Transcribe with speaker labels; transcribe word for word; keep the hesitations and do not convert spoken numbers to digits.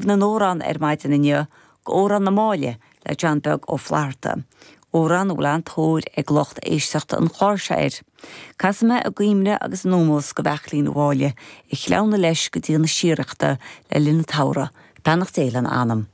Speaker 1: na n-amhrán ar maidin inniu go Amhrán na Máille le John Beag Ó Flatharta. Amhrán a bhfuil an-tóir ag lucht éisteachta an chláir seo air. Casfaidh mé i gcuimhne agus in ómós do Bheairtlín Uí Mháille a chleamhnaigh leis go dtí na síoraíochta le linn an tsamhraidh, Beannacht Dé lena anam.